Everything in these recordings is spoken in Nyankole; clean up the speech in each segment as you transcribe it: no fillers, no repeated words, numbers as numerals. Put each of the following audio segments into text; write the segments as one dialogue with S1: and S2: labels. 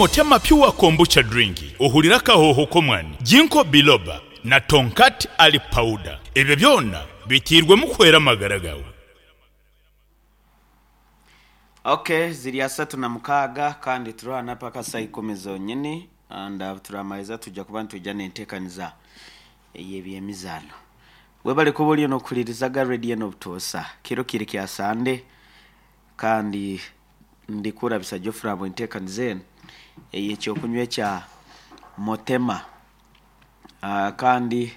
S1: Motema Pure Kombucha Drink ohurire akahooho k'omwani, Ginkgo Biloba na Tongkat Ali Powder. Ebyo byona biteirwemu kuhwera amagara gaawe.
S2: Ok ziri 36 kandi turwana paka saha ikumi zonyini and turamariza twija kuba nitwija nentekaniza eyebyemizano. Webale kuba oriyo nokuhuririza aga radio eno obutoosa. Kiro kiri kya Sande kandi ndikurabisa Geoffrey ahabwa entekaniza enu eyekyokunywa ekya Motema. Kandi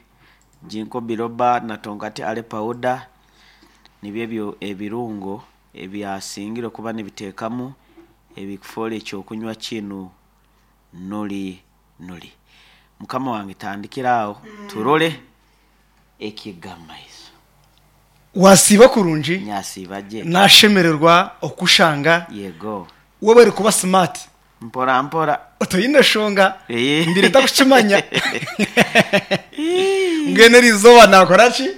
S2: Ginkgo Biloba na Tongati Aloe Powder nibyo ebyo ebirungo ebyasingire kuba nibiteekamu ebikufoora ekyokunywa kinu nuri nuri. Mukama wange tandikira aho turole ekigamaiso.
S3: Wasiiba kurungi?
S2: Nyasiiba gye.
S3: Nashemererwa okukushanga.
S2: Yego.
S3: Webare kuba smart.
S2: Mpora mpora.
S3: Toine shonga.
S2: Ee.
S3: Mbaire ntakukimanya. Mbwenu eri izooba naakora ki?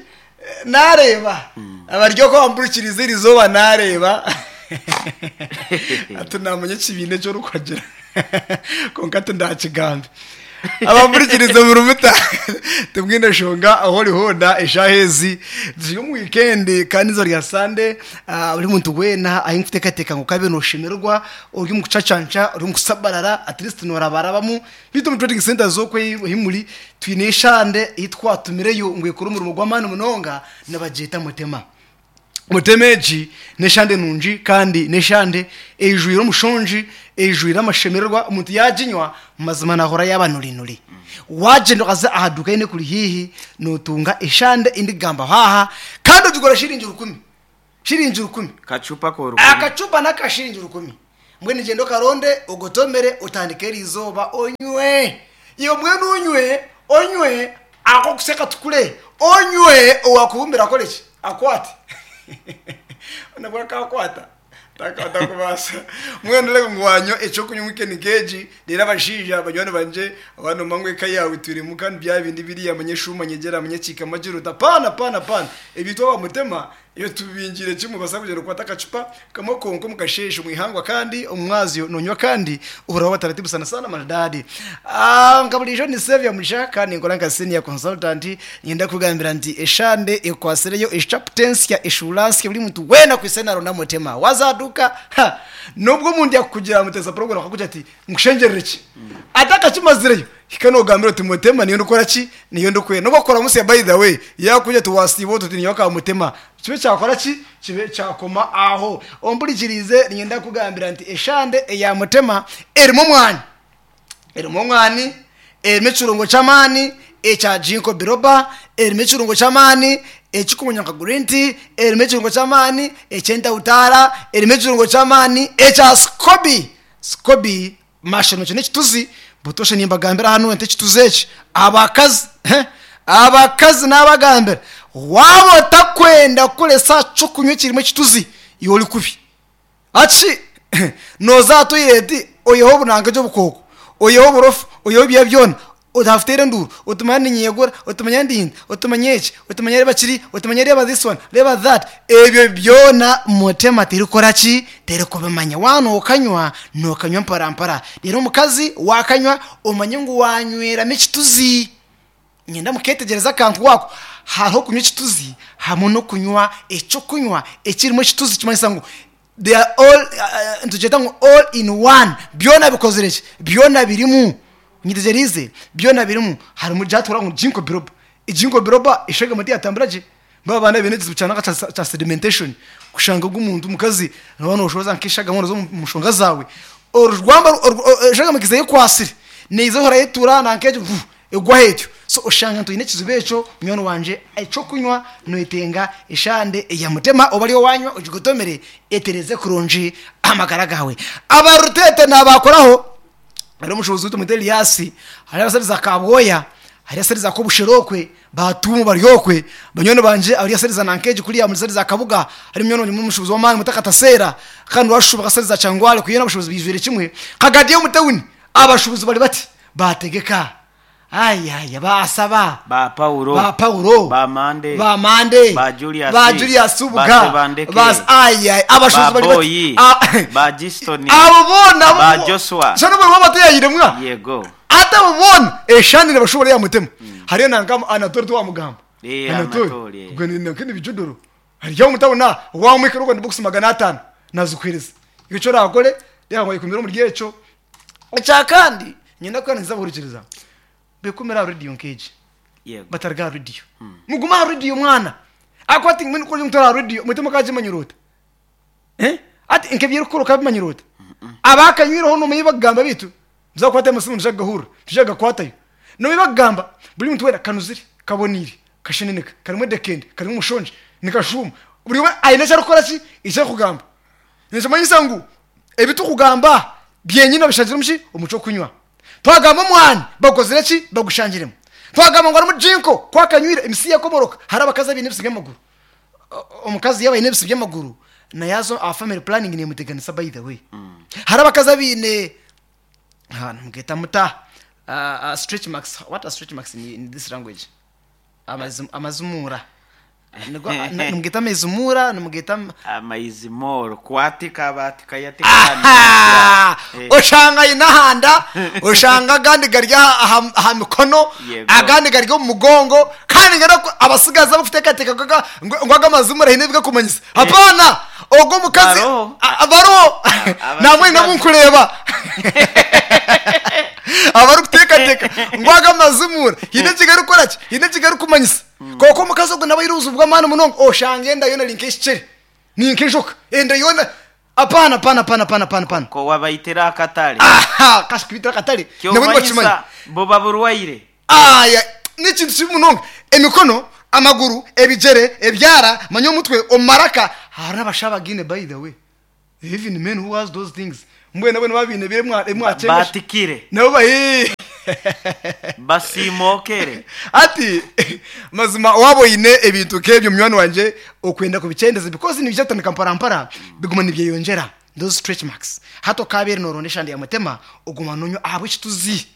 S3: Naareeba. Abari okwo bampurikiriize eri izooba naareeba. Hati naamanya ekibiina eki orikuhagira. Kwonka tindakigambe. Abampurikiriize muri muta? Timwine shonga ahu ori hoona eshaaha ezi ziri omu wiikendi kandi eizooba rya Sande. Buri muntu weena aine kuteekateeka ngu okabe nooshemererwa ori omu kucacanca, ori omu kusabarara, at least noorabarabamu. Beitu omu trading centres okwo ahi muri, twine eshande ei twatumireyo ngu ekore omurimo gw'amaani munonga, nibagyeta Mutema. Mutema egi n'eshande nungi kandi n'eshande eijwire omushongi, eijwire amashemererwa, omuntu yaaginywa mazima naahurira yaaba nurinuri. Waagyenda okaza aha duuka yoona ekuri haihi, nootunga eshande ei ndikugambaho aha kandi ogigura shiringi rukumi. Shiringi rukumi.
S2: Kacupa k'orukumi.
S3: Akacupa n'aka shiringi rukumi. Mbwenu gyenda okaronde, ogotomere, otandike eriizooba onywe. Iwe mbwenu onywe, onywe, ak'okusya katukure, onywe, owaakubumbira akore ki? Akwate. Nabwo akaakwata? Takubaasa. Mbwenu reeba ngu waanywa eky'okunywa wiikendi nk'egi, reero abashaija banywani bangye, waaba noomanya ngu eka yaawe etwiremu kandi bya bindi biriya manya eshuuma nyegyera manya ekiikama gira oti apaana apaana apaana, ebyo itwe aba Mutema Iyo tubingiire kimwe obaasa kugyenda okwate akacupa kamwe konka omu kasheeshe omu ihangwa kandi omu mwazyo nonywa kandi ohurira waaba taratibu sana sana maridadi. Nka buriijo ni Saviour Mugisha kandi ninkora nka senior consultant niinyenda kukugambira nti eshande ekwatsireyo echapter ensya eshuura nsya buri muntu weena akwitse naronda mutema waaza aha duuka ha nobwo omuntu yakukugira mutesa program akakugira ati nkushengyerere ki atakakimazireyo Hika nogambira oti mutema niyo ndikukora ki? Niyo ndikwenda. Nobu wakukora musya by the way, yakugira ati wasiiba ota oti ninyowe aka mutema, kibe kyakora ki? Kibe kyakoma aho. Ompurikiriize niinyenda kukugambira nti eshande eya mutema erimu omwani. Erimu omwani, erimu ekirungo ky'amaani ekya ginkgo biloba, erimu ekirungo ky'amaani ekikumanywa nka green tea, erimu ekirungo ky'amaani eky'entawutaara, erimu ekirungo ky'amaani ekya scobi. Scobi Mashano ekyo n'ekituzi, butoosha nimbagambira hanu nti ekituzi eki abakazi abakazi nabagambira waaba otakwenda kukoresa aha ky'okunywa ekirimu ekituzi iwe ori kubi. Hati nooza aha toyireti oiheho obunanka gye obukooko, oiheho oburofa, oiheho ebya byona, otafuteera enduuru oti manya niinyegura, oti manya ndinda, oti manya eki, oti manya reeba kiri, oti manya reeba this one, reeba that, ebyo byona mutema terikukora ki? Terikubimanya. Waaba nookanywa, nookanywa mpora mpora. Reero omukazi waakanywa omanye ngu waanyweramu ekituzi. Niinyenda mukeetegyereza akantu ako. Hariho okunywa ekituzi hamwe n'okunywa eky'okunywa ekirimu ekituzi ekirikumanyisa ngu they are all nitugyeta ngu all in one byona bikozire ki byona birimu nyetegyereize byona birimu harimu gyatura ngu ginkgo biloba ginkgo biloba eshagama teyatambura gye ba abaana baine ekizibu kya nanka kya sedimentation kushanga ogu omuntu omukazi noba noshoza nk'eshagama noza omu nshonga zaawe orugamba eshagama ekaiza ekwasire neiza ehora etura nanka egyo Egwaho etyo. So oshanga nti oine ekizibu ekyo munywani wangye, eky'okunywa noyetenga eshande eya mutema oba ariyo wanywa ogigotomere etereze kurungi amagara gaawe. Aba Rutete nabakoraho hariho omushubuzi waitu tumwete Elias, hariho abashaija za Kabwoya, hariho abashaija za Kobushera okwe, ba Tuumu bari okwe, banywani bangye abari ashaija za Nankegi kuriya omuri saidi za Kabuga, hariyo munywani wangye omushubuzi w'amaani bamweta Kataseera kandi washuba nka saidi za Kyangwali kuriya abashubuzi baijwire kimwe. Kagadi omu tawuni abashubuzi bari bati. Baategeka. Ayaya baasaba
S2: Ba Paulo.
S3: Ba Paulo.
S2: Ba Mande.
S3: Ba Mande.
S2: Ba Julius.
S3: Ba Julius
S2: Ba
S3: Ubuga.
S2: Tebandeke.
S3: Ba ayaya abashozi
S2: Ba
S3: bari bati
S2: Boyi.
S3: Ah,
S2: Ba Giston.
S3: abo boona
S2: Ba Joshua.
S3: Shana buri waba atayayiremwa
S2: Yego.
S3: ate abo boona eshanire bashobora yamutema hariyo nanga Anatole tiwamugamba.
S2: Eh,
S3: Anatole
S2: Anatole.
S3: ubwo ni nakindi bijudoro hariyo mutabona wamwikira ubwo box 500 nazukwiriza icyo rakore reka ngo yikumira mu ryeco icya kandi nyina ko yanze buhurikiriza bekumira radio nkeje
S2: Yego.
S3: batarga radio muguma radio mwana ako ati mwene ko mutora radio mutema kajimanyurota eh ati nkebye rukuru kabimanyurota abakanywireho no muyibagamba bitu nzakwata amasimu njaga gahura njaga kwatayo no muyibagamba buri muntu wera kanuzire kabonire kasheneneka karimo dekende karimo umushonje nikashuma buri we ayine cyarukora ki icyo kugamba nizomanyisa ngu ebitukugamba byenyine bishangira muki umuco kunywa twagamba omwana bakozire ki bagushangiremu twagamba ngu harimu jinko kwakanywire emisi yakomoroka hari abakazi abaine ebisi by'amaguru omukazi yaba aine ebisi by'amaguru nayazo aha family planning nemuteganisa by the way. Hari abakazi abaine ha nimugeta muta stretch marks. What are stretch marks in this language? Amazumura nimugeta amazumura nimugeta
S2: Amaizimoro kwatika batika yatika.
S3: Aha!
S2: Eh.
S3: Oshanga inahanda oshanga agandi gari aha mikono
S2: Yego.
S3: agandi gari omu mugongo kandi ngana ko abasigaza bakuteekateeka ngu aga amazumura haine ebigakumanyisa hapana ogwo omukazi
S2: Baroho.
S3: Baroho namwe nabunkureeba abarikuteekateeka ngu aga amazumura haine ekigarikukora ki haine ekigarikumanyisa kwonka omukazi ogwo nawe aine obuzibu bw'amaani munonga oshanga enda yoona eri nk'ekikere ni nk'enjoka enda yoona hapana hapana hapana hapana hapana hapana.
S2: Ko wabaitira akatale.
S3: Aha kashikubitira akatale nabo nibakimanya.
S2: Kyomanyisa buba burwaire.
S3: Aya n'ekintu kibi munonga emikono amaguru ebijere ebyara manya omutwe omumaraka hariho abashaho by the way even men who has those things mbwenu nabo nibabiine bire emwakyenga
S2: Batikire.
S3: nabo bayi
S2: Basimokere.
S3: Ati mazima waba oine ebintu nk'ebyo munywani wangye okwenda kubikyendeza because nibija kutandika mparampara biguma nibyeyongyera those stretch marks hati okabeire noronda eshande ya mutema oguma nonywa ahabw'ekituzi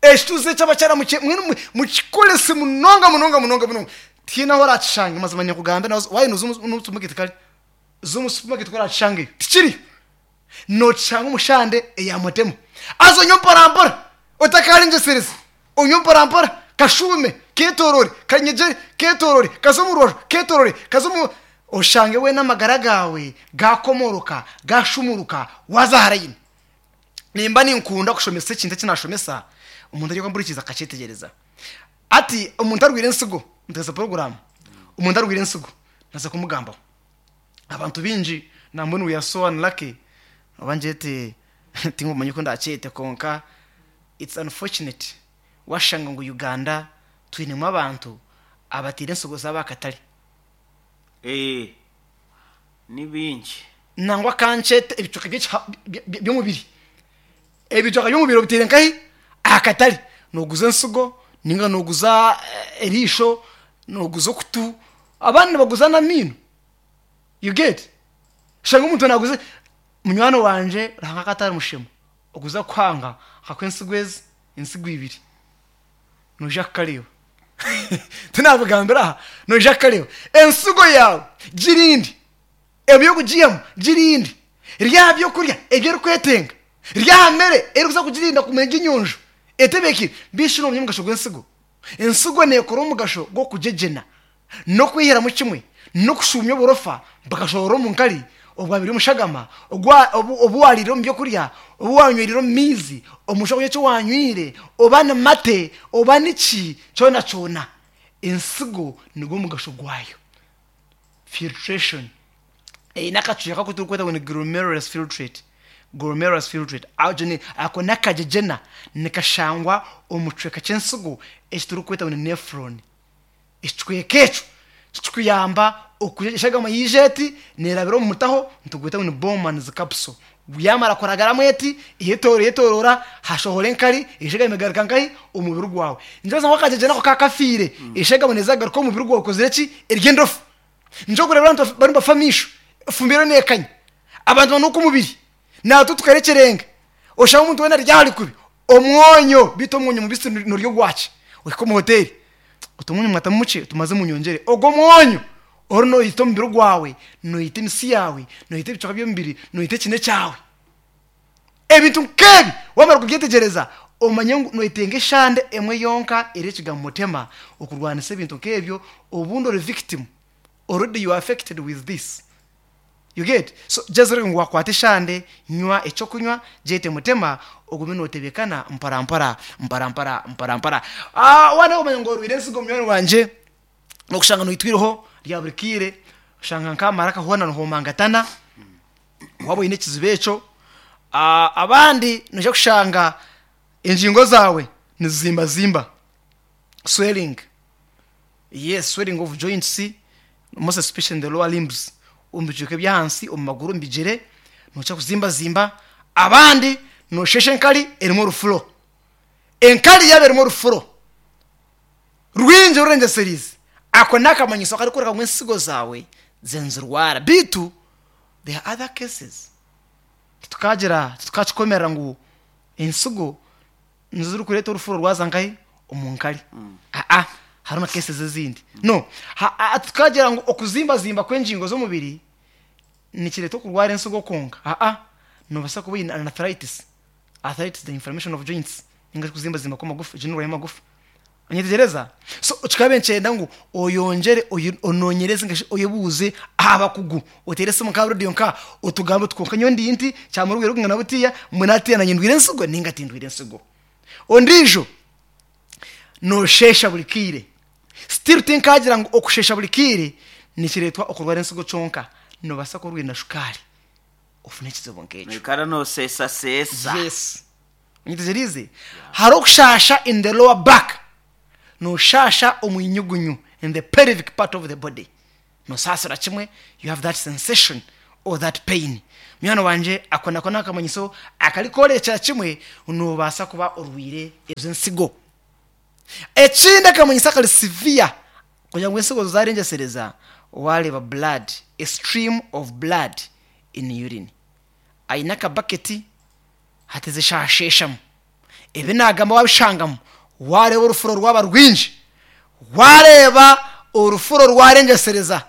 S3: ekituzi ekyabakyara mwenu mukikorese munonga munonga munonga munonga tihaine ahu orakishanga mazima nyakugambe nawe waayenda oze omu supermarket kare oze omu supermarket ku orakishangayo tikiriyo nokishanga omushande eya mutema haza onywe mpora otakarengyeserize onywe mpora kashuume ketorore kanyegyere ketorore kaze omu rubaju ketorore kaze omu oshange weena amagara gaawe gakomoroka gashumuruka waaza aha layini nimba ninkunda kushomesa ekintu eki nashomesa omuntu ari kumpurikiza akakyetegyereza ati omuntu arwaire ensigo nteesa puroguraamu omuntu arwaire ensigo naza kumugambaho abantu baingi nambwenu we are so unlucky oba ngyete tinkumanya oku ndakyete kwonka it's unfortunate washanga ngu Uganda twinemu abantu abataire ensigo zaabo aha katare.
S2: Eh, ni bingi.
S3: Nangwa kankyete ebicweka by'omubiri ebicweka by'omubiri obiteire nkahi aha katare nooguza ensigo ninga nooguza eriisho nooguza okutu abandi nibaguza n'amaino you get oshanga omuntu naaguza munywani wangye Ruhanga akaba atari mushema okuza kuhanga akakuha ensigo ezi ensigo ibiri noija kukareeba tinabigambira aha noija kukareeba ensigo yaawe girinde eby'okugiihamu girinde rya aha byokurya ebi erikwetenga rya aha mere erikuza kugirinda kuguma eri enyonjo etebeekire mbeihi shi noomanya omugasho gw'ensigo ensigo neekora omugasho gw'okugyegyena n'okwihiramu kimwe n'okushuumya oburofa bukashohora omu nkari obwabire omushagama obu waariire omu byokurya obu waanywereire omu maizi omu kyokurya eki waanywire oba ni mate oba niki kyona kyona ensigo nigwo mugasho gwayo filtration eine akacweka aku turikweta ngu ni glomerulus filtrate glomerulus filtrate ako n'akagyegyena nikashangwa omu kicweka ky'ensigo eki turikweta ngu ni nephron ekicweka ekyo tikikuyamba eshagama yaija eti neerabira omu mutaho nitugweta ngu ni Bowman's capsule yamara kuragaramu eti eyetoorora hashohora enkari eshagama egaruka nkahi omu mubiri gwawe nikyo ngu akagyegyena ako kaaba kafiire eshagama neeza kugaruka omu mubiri gwawe ekozire ki eri endofu nikyo orikureeba abantu bariyo nibafa amaisho efumbiro neekanya abantu banuuka omubiri naitwe tukarekyereenga oshanga omuntu weena ari aha ari kubi. Omwonyo beitu omwonyo mubisi norya ogwaki? Ohika omu hoteeri oti omwonyo mwatamu mukye oti maze munyongyere. Ogwo omwonyo ori noita omubiri gwawe, noita emisi yaawe, noita ebicweka by'omubiri, noita ekine kyawe. Ebintu nk'ebi waamara kubyetegyereza omanye ngu noyetenga eshande emwe yonka eri ekigambo mutema okurwanisa ebintu nk'ebyo obundi ori victim already you are affected with this. You get? So just orebe ngu wakwata eshande, nywa ekyokunywa, gyete mutema, ogume notebekana mpora mpora, mpora mpora, mpora mpora. Ah, waaba omanya ngu orwaire ensigo munywani wangye, nokushanga noitwa eiriho rya buri kaire, oshanga nk'amaraka hoona nihomangatana, waaba oine ekizibu ekyo. Ah, abandi noija kushanga engingo zaawe nizizimbazimba, swelling. Yes, swelling of joints, most especially in the lower limbs, omu bicweka eby'ahansi, omu maguru, omu bigyere, nookira kuzimbazimba. Abandi noosheesha enkari erimu orufuro. Enkari yaaba erimu orufuro rwingi rurengyesereize, ako n'akamanyiso akarikworeka ngu ensigo zaawe ziriyo nizirwara. Beitu there are other cases, titukagira, titukakikomerera ngu ensigo nizo zirikureeta orufuro rwaza nkahi? Omu nkari. Aa, hariho na cases ezindi. No, ha, tukagira ngu okuzimbazimba kw'engingo z'omubiri nikireeta okurwara ensigo kwonka. Aa, noobaasa kuba oine arthritis, arthritis the inflammation of joints, ninga shi okuzimbazimba kw'amagufa, egyo n'endwara y'amagufa. Onyetegyereza? So kikaba nikyenda ngu oyongyere onoonyereze ninga shi oyebuuze aha bakugu, oteere esimu nka aha reediyo nka otugambe oti kwonka nyowe ndi nti, kyamara obwire burikwingana butiya, mbwenu hatiiya naanye ndwaire ensigo ninga tindwaire ensigo. Ondiijo noosheesha buri kaire. Still tinkaagira ngu okusheesha buri kaire nikireetwa okurwara ensigo kyonka, noobaasa kuba orwaire na shukaari ofune ekizibu nk'ekyo.
S2: Noikara nooseesaseesa.
S3: Yes. Onyetegyereize? Hariho okushaasha in the lower back, nooshaasha omu inyugunyu, in the pelvic part of the body. Nosaasira kimwe, you have that sensation or that pain. Munywani wangye, ako nako n'akamanyiso akarikworekyera kimwe ngu noobaasa kuba orwaire ezo ensigo. Ekindi akamanyiso akari severe, kugira ngu ensigo zaarengyesereza, waareeba blood, a stream of blood in urine. Aine akabaketi hati zishasheeshamu. Ebi naagamba waabishangamu, waareeba orufuro rwaba rwingi, waareeba orufuro rwarengyesereza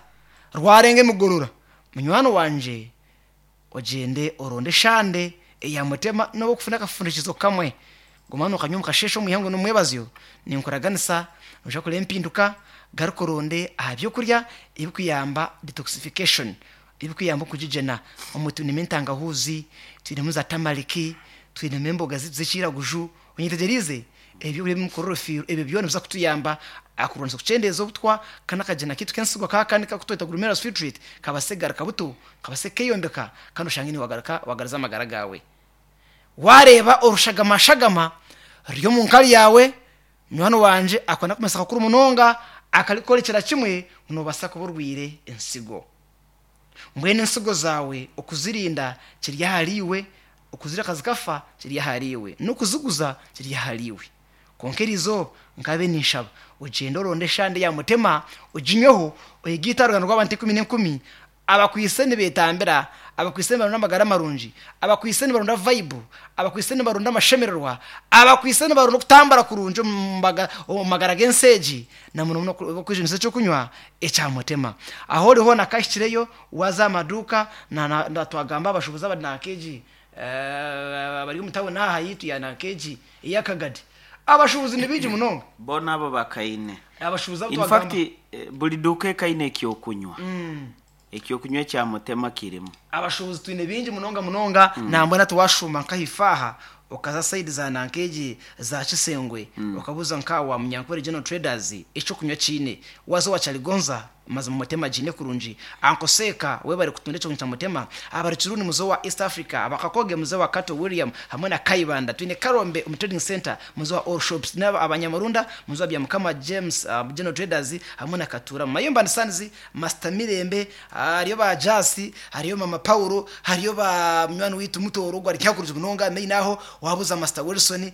S3: rwarenga emigorora, munywani wangye ogyende oronde eshande eya mutema n'obu okufuna akafundikizo kamwe, guma nookanywa omu kasheeshe omu ihangwe n'omu mwebazyo, ninkuraganisa noija kureeba empinduka, garuka oronde aha by'okurya ebirikuyamba detoxification. Ebikuyamba okugigyena, omwe twinemu entangahuuzi, twinemu za tamariki, twinemu emboga zaitu z'ekiraguju, onyetegyereize? Ebyokurya ebirimu chlorophyll, ebyo byona nibiza kutuyamba aha kurwanisa okukyendeeza obutwa kandi akagyena kaitu k'ensigo aka kandi aku tweta glomerulus filtrate kabaase kugaruka buto, kabaase keeyombeka kandi oshange niiwe wagaruka wagaruza amagara gaawe. Waareeba orushagamashagama ruri omu nkari yaawe, munywani wangye ako n'akamanyiso kakuru munonga akarikworekyera kimwe ngu noobaasa kuba orwaire ensigo. Mbwenu entsigo zaawe okuzirinda kiri ahariiwe, okuzireka zikafa kiri ahariiwe, n'okuziguza kiri ahariiwe. Kwonka eri izooba nkabe ninshaba ogyende oronde eshande ya mutema oginyweho, oyegaite aha ruganda rw'abantu enkumi n'enkumi abakwaitse nibeetambira, abakwaitse nibaronda amagara marungi, abakwaitse nibaronda vaibu, abakwaitse nibaronda amashemererwa, abakwaitse nibaronda okutambura kurungi omu magara g'ensi egi. Na muno muno okwejunisa eky'okunywa ekya mutema. Ahu ori hoona kahikireyo, waaza aha maduuka, na na twagamba abashuubuzi abari nanka egi abari omu tawuni aha yaitu ya nanka egi eya Kagadi. Abashuubuzi ni baingi munonga.
S2: Boona abo bakaine.
S3: Abashuubuzi abu
S2: In
S3: twagamba.
S2: fact, buri duuka ekaine eky'okunywa. Eky'okunywa ekya mutema kirimu.
S3: Abashuubuzi twine baingi munonga munonga nambwenu hati washuuma nka ahaifo aha okaza sayidi za nanka egi za Kisengwe okabuuza nka owa Munyankore General Traders eky'okunywa kiine, waza owa Kyaligonza mazima mutema giine kurungi, Uncle Seeka webare kutunda eky'okunywa kya mutema, abari Kiruni muze owa East Africa, aba Kakoge muze owa Kato William hamwe na Kayibanda, twine Karombe omu Trading Centre muze owa All Shops, twine Abanyamurunda muze owa Byamukama James General Traders hamwe na Katuura Mayumba and Sons Master Mirembe, hariyo ba Jasi, hariyo Mama Paulo, hariyo ba munywani waitu Mutooro ogwo ari nkakurungi munonga, main aho wabuuza Master Wilson.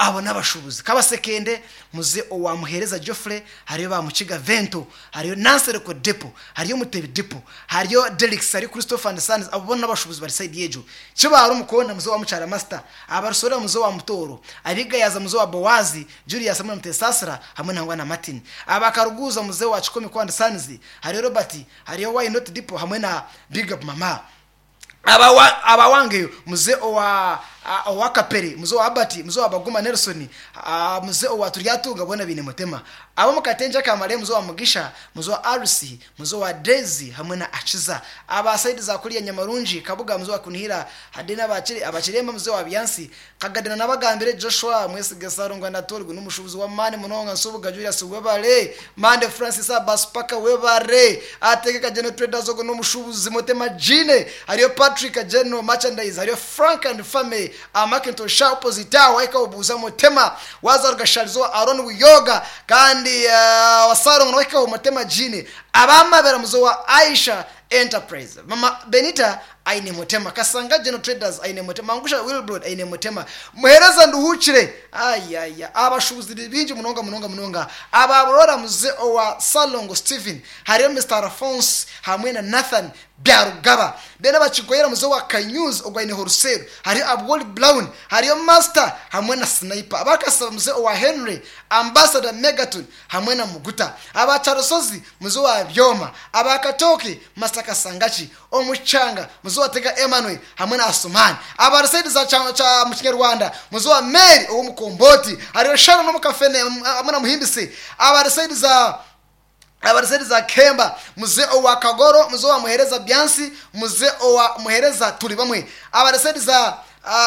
S3: Abo n'abashuubuzi. Kabasekende, muze owa Muheereza Geoffrey, hariyo ba Mukiga Vento, hariyo Nansereko Depo, hariyo Mutebi Depo, hariyo Derricks, hariyo Christopher and Sons, abo boona n'abashuubuzi bari sayidi egyo. Kibaare Omukonda, muze owa Mukyara Master, Abarusorera muze owa Mutooro, Abigayaza muze owa Boazi, Julius hamwe na Mutesaasira hamwe nangwa na Martin. Aba Karuguuza muze owa Kikomeko and Sons, hariyo Robert, hariyo Why Not Depo hamwe na Big Up Mama. Aba abawangeyo muze owa owa Kapere, muze owa Abati, muze owa Baguma Nelson, muze owa Turyatunga boona baine Mutema. Ab'omu Katenje aka Mare muze owa Mugisha, muze owa Arusi, muze owa Daisy hamwe na Akiza. Aba sayidi za kuriya Nyamarungi, Kabuga muze owa Kunihira, Hadena aba Kiremba muze owa Byansi, Kagadena nabagambire Joshua, Mwesiga Sarongo Anatole ogu n'omushuubuzi w'amaani munonga, Nsubuga Julius webare, Mande Francis Abaspaka webare, Ategeka General Traders ogu n'omushuubuzi Mutema Jeane, hariyo Patrick General Merchandise, hariyo Frank and Family, Macintosh Shah opposite aho wahika obuuza Mutema, waaza Rugasharizo wa Aaron Buyoga kandi wa Sarongo nawe wahika Mutema Jeane, Abamabera muzo wa Aisha Enterprise, Mama Benita aine Mutema, Kasanga General Traders aine Mutema, Mangusha Wilbrod aine Mutema, Muhereza Nduhukire, ayaya abashubuzi bingi munonga munonga munonga, ababurora muze owa Salongo Steven, hariyo Mr Alphonse hamwe na Nathan Byarugaba, then abakigoyera muze wa Kanyuzi ogwaine Horusero, hariyo Abwoli Brown, hariyo Master hamwe na Sniper, abakasaba muze owa Henry, Ambassador Megaton hamwe na Muguta, abacharusozi muze wa Byoma, abakatoki Master Kasangachi, Omuchanga muze wa Tega Emmanuel hamwe na Asumani, abarusaidi za cha mu Kinyarwanda muze wa Mary omukomboti, hariyo Sharon omukafene hamwe na Muhimbisi, abarusaidi za abariseri za Kemba muze owa Kagoro, muze wa Muhereza Byansi, muze owa Muhereza turi bamwe, abariseri za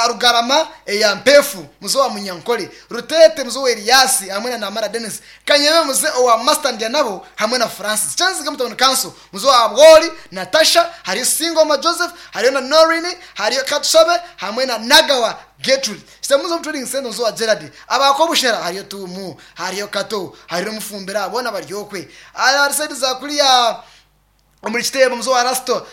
S3: Rugarama ya Mpefu muze wa Munyankole, Rutete muze wa Eliasi hamwe na Namara Dennis, Kanyeme muze owa Master Ndianabo hamwe na Francis, Chanzi Gamutano Council muze wa Abwoli Natasha, hariyo Singoma Joseph, hariyo na Norini, hariyo Katushabe hamwe na Nagawa Gertrude, Sitamuzo Trading Center muze wa Gerard, abakobushera hariyo Tumu, hariyo Kato, hariyo Mufumbira bona baryokwe, abariseri za kuriya omuri kitebo muzo wa Rasto,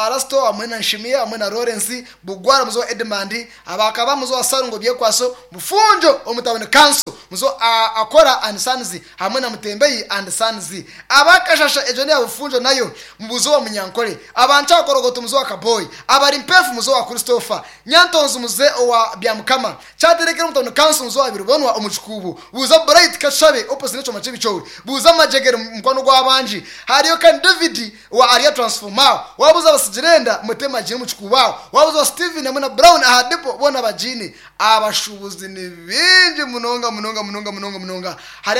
S3: Rasto hamwe na Nshimiya hamwe na Lawrence Bugwara muzo wa Edmund, abakaba muzo wa Sarungo Byekwaso, Mufunjo omutabone Council muzo Akora and Sons hamwe na Mutembeyi and Sons, abakashasha ejo ne Bufunjo nayo mubuzo wa Munyankole, abancha korogoto muzo wa Kaboy, abari mpefu muzo wa Christopher Nyantonzo muze wa Byamukama, cyaterekera umutabone Council muzo wa Birubonwa omucukubu, buza Bright Kashabe opposite neco machibi chowe, buza Majegere mukwano gwabanji, hariyo kan David wa Aria Transformer, wabuza abasijirenda Mutema jini mucukubawo, wabuza Steven hamwe na Brown ahadepo bona bajini. Abashubuzi ni bingi munonga munonga munonga munonga munonga. Hari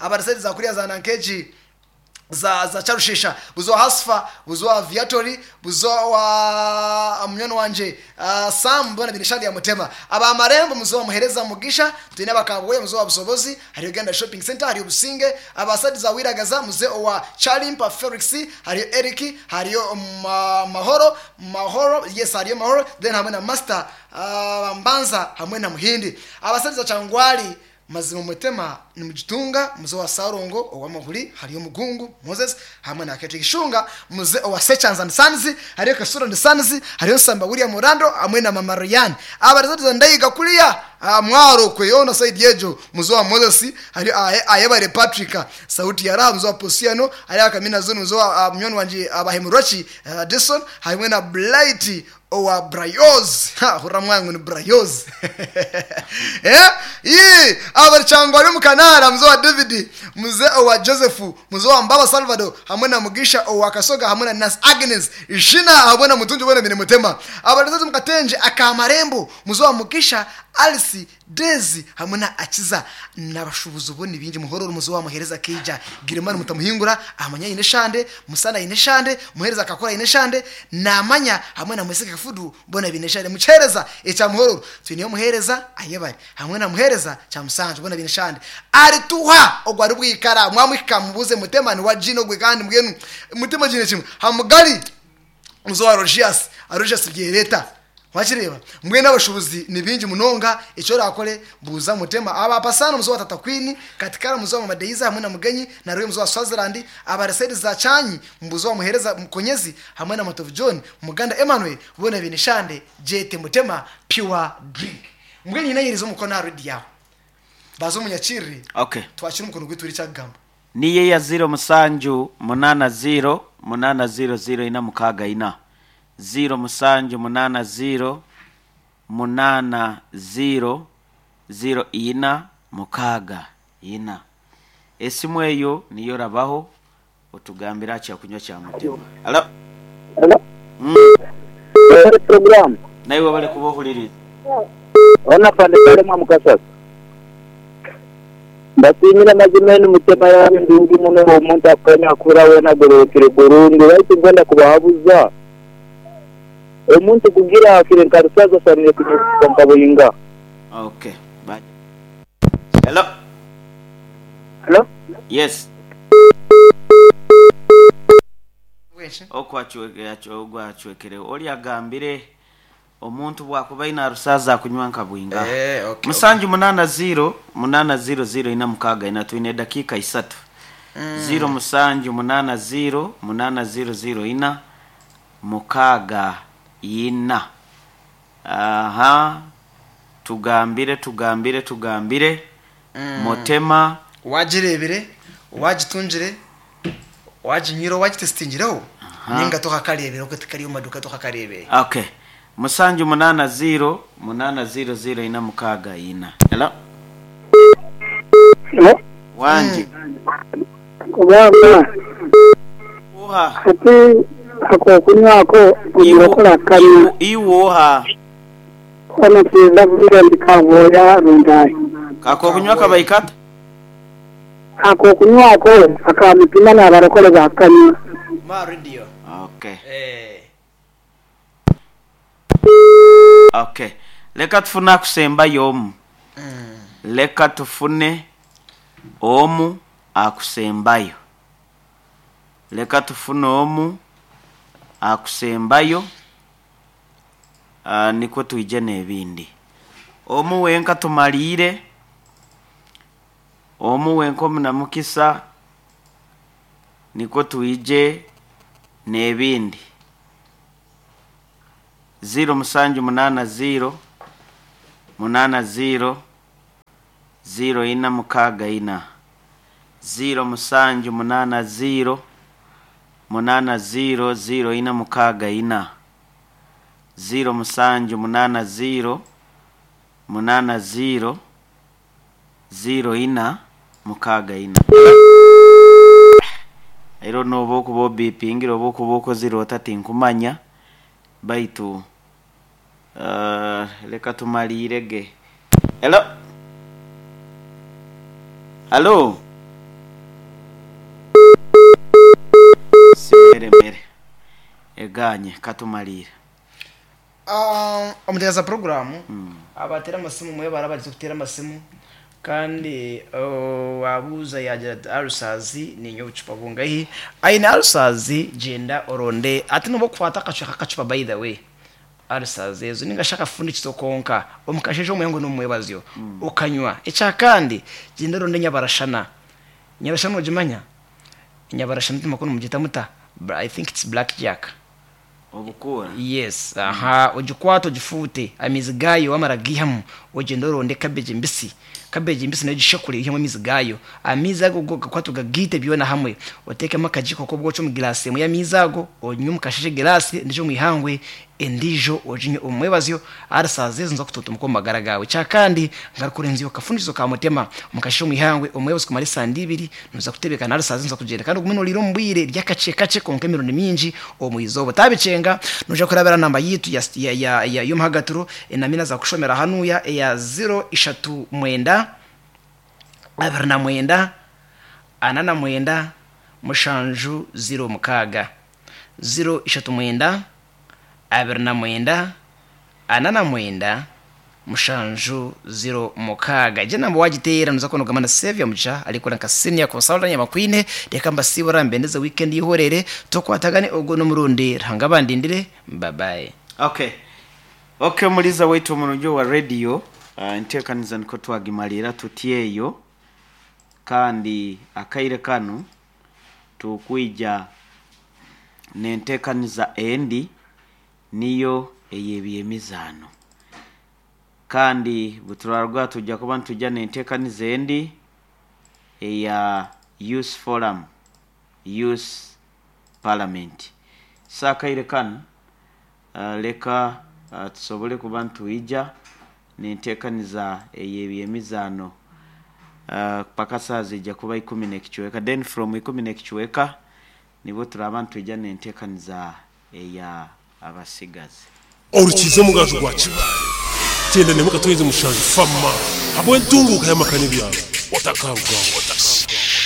S3: abarisedi za kuriya za Nankeji za Charushisha, buzo Hasfa, buzo Aviatori, buzo wa munyono wanje Sam bona binishali ya Mutema, aba Marembo muzo wa Muhereza Mugisha, twine abakabwe muzo wa Busobozi, hari Uganda Shopping Center, hari Businge, abasadi za Wiragaza muze wa Chalimpa Felix, hari Eric, hari Mahoro, Mahoro yes hari Mahoro, then hamwe na Master Mbanza hamwe na Muhindi, abasadi za Changwali mazima Mutema ni mugitunga muze wa Sarongo owa Mahuri, hariyo Mugungu Moses hamwe na Ketri Gishunga muze owa Sechans and Sons, hariyo Kasura and Sons, hariyo Samba William Orlando hamwe na Mama Ryan, abarizati ndayiga kuriya mwaro kweyona side yejo muze wa Moses, hariyo Ayebare Patrick sauti ya Raha muze wa Posiano, hariyo Kamina Zone muze wa mnyoni wanje Abahemurochi Jason hamwe na Blight owa Brayoz, ha hura mwangu ni Brayoz eh abarchangwa ari mukanara muze wa David, muze owa Joseph, muze wa Mbaba Salvador hamwe na Mugisha owa Kasoga hamwe na Nas Agnes Jina hamwe na Mutunji bona bine Mutema, abarzazi mukatenje akamarembo muze wa Mugisha Alice Daisy hamwe na Akiza nabashubuzi ubone bingi muhororo muze wa Muhereza Keija Girimani mutamuhingura amanya ine shande musana ine shande muhereza akakora ine shande namanya hamwe na Mweseka Kafudu bona bine shande muchereza echa muhororo twiniyo muhereza ayebare hamwe na muhereza cha musanje bona bine shande ari tuha ogwari bwikara mwamwika mubuze Mutema ni wa jino gwe kandi mbwenu Mutema jine kimwe hamugali muzo wa Rogias Rogias byereta wakireba mbwe n'abashubuzi ni bingi munonga icyo rakore buza Mutema aba pasano muzo wa Tata Queen katikara muzo wa Mama Deiza hamwe na Mugenyi na Roy muzo wa Swaziland abaresedi za Chanyi mbuzo wa Muhereza Mukonyezi hamwe na Matovu John Muganda Emmanuel bona binishande jete Mutema pure drink. Mbwenu nyine ayerize omukono aha rediyo aho. Baza omunyakirire,
S2: Okay.
S3: twakire omukono gwaitu tuhurire eki akugamba.
S2: Niyo eya ziiro musanju munaana ziiro munaana ziiro ziiro ina mukaaga ina. Ziiro musanju munaana ziiro munaana ziiro ziiro ina mukaaga ina. Esimu eyo niyo orabaho otugambire aha kyakunywa kya Mutema. Halo.
S4: Hello. Webale program.
S2: Naiwe webale kuba ohuririize.
S4: Hona Afande Kalema Mukasasa. Mbasiimire mazima enu Mutema yanyu ndungi muno omuntu akukaine akura wena agororokire burungi baitu nkwenda kubahabuza omuntu kugira afire nka Rusaza asanire kunywa nka Buyinga.
S2: Okay. Bye. Hello.
S4: Hello.
S2: Yes. Oku acwekireho. Ori agambire omuntu bwakuba aine arusaaza akunywa nka bwingaha.
S3: Eh, okay,
S2: Musanju munaana ziiro munaana ziiro ziiro ina mukaaga ina twine edakiika isatu. Ziiro musanju munaana ziiro munaana ziiro ziiro ina mukaaga ina. Aha tugambire tugambire tugambire Mutema.
S3: Wagireebire, wagitungire, waginywire, wagitesitingireho ninga tokakareebire okwe tikari omu maduuka tokakareebire.
S2: Okay. Musanju munaana ziiro munaana ziiro ziiro ina mukaaga ina. Hello.
S5: Hello.
S2: Wangi.
S5: Kubanga
S2: Oha.
S5: hati ak'okunywa ako omurokore akanywa.
S2: Iwe oha?
S5: Hoona twenda kugira nti kabwoya rundahi.
S2: Ak'okunywa kabahi kata?
S5: Ak'okunywa ako aka mutima n'abarokore bakanywa.
S3: Ma radio.
S2: Okay.
S3: Eh.
S2: Okay. Leka tufune akusembayo omu. Leka tufune omu akusembayo. Leka tufune omu akusembayo. Nikwo twije n'ebindi. Omu wenka tumaliire. Omu wenka omunamukisa nikwo twije n'ebindi. Ziiro musanju munaana ziiro munaana ziiro ziiro ina mukaaga ina. Ziiro musanju munaana ziiro munaana ziiro ziiro ina mukaaga ina. Ziiro musanju munaana ziiro munaana ziiro ziiro ina mukaaga ina. Ero noba okuba obipingire oba okuba okozire ota tinkumanya baitu leka tumaliire ge. Hello. Hello. Simeremere eganye katumaliire.
S3: Omuteekaza puroguraamu abateera amasimu mwebare abarize kuteera amasimu kandi waabuuza yaagira ati ulcers niinywa obucupa bungahi aine ulcers gyenda oronde ati nobu okukwata akacweka k'akacupa by the way ulcers ezo ninga shi akafundikizo konka omu kasheeshe omuhango n'omu mwebazyo okanywa ekyakandi gyenda oronde enyabarashana enyabarashana nogimanya enyabarashana timakuru nimugyeta muta I think it's black jack.
S2: Obukuura.
S3: Yes, aha, ogikwate ogifuute, amaizi gaayo wamara kugaihamu, ogyende oronde cabbage mbisi, cabbage mbisi nayo ogishekure oihemu amaizi gaayo. Amaizi ago go ogakwate ogagaite byona hamwe, oteekemu akagiiko k'obwoki omu giraasi emwe y'amaizi ago, onywe omu kasheeshe egiraasi endiijo omu ihangwe, endiijo oginywe omu mwebazyo, ahari saaha ezo niiza kutuntumuka omu magara gaawe. Ekyakandi, ngaruka orenzyeho akafundikizo ka mutema omu kasheeshe omu ihangwe, omwebazo kumara esande ibiri, nooza kutebekana ahari saaha ezi nooza kugyenda kandi ogume nooriira omu bwire, rya kakye kakye kwonka emirundi mingi omu izooba. Otaabikyenga, noija kurabira aha namba yaitu ya ya ya ya y'omuhagatiro enamba ei naaza kukushomera hanuuya eya ziro ishatu mwenda, abiri na mwenda, ana na mwenda, mushanju ziro mukaaga. Ziro ishatu mwenda, 29, 49, mushanju, ziro, mukaaga. Egyo enamba waagiteera noza kuba noogamba na Saviour Mugisha arikukora nka Senior Consultant Nyamakwine. Reka mbasiibure mbendeze weekend y'eihoreere. Tukwatagane ogu n'omurundi. Ruhanga abandindire. Bye bye.
S2: Okay. Okay omuliza waitu omurungi owa radio, enteekaniza nikwo twagimariira tuti eyo kandi akaire kanu tukwija n'enteekaniza endi niyo ey'ebyemizaano. Kandi buturarwa tujja kuba nitujja n'enteekaniza endi eya Youth Forum, Youth Parliament. So akaire kanu leka tusobole kuba nitwija n'enteekaniza ey'ebyemizaano paka saaha ziija kuba ikumi n'ekicweka. Then from ikumi n'ekicweka nibwo turaaba nitwija n'enteekaniza eya abasigazi.
S6: Orukiiza omugaju gwa Kibaale, 96 Fama habw'entunguuka y'amaka n'ebyaro. Otakarugaho.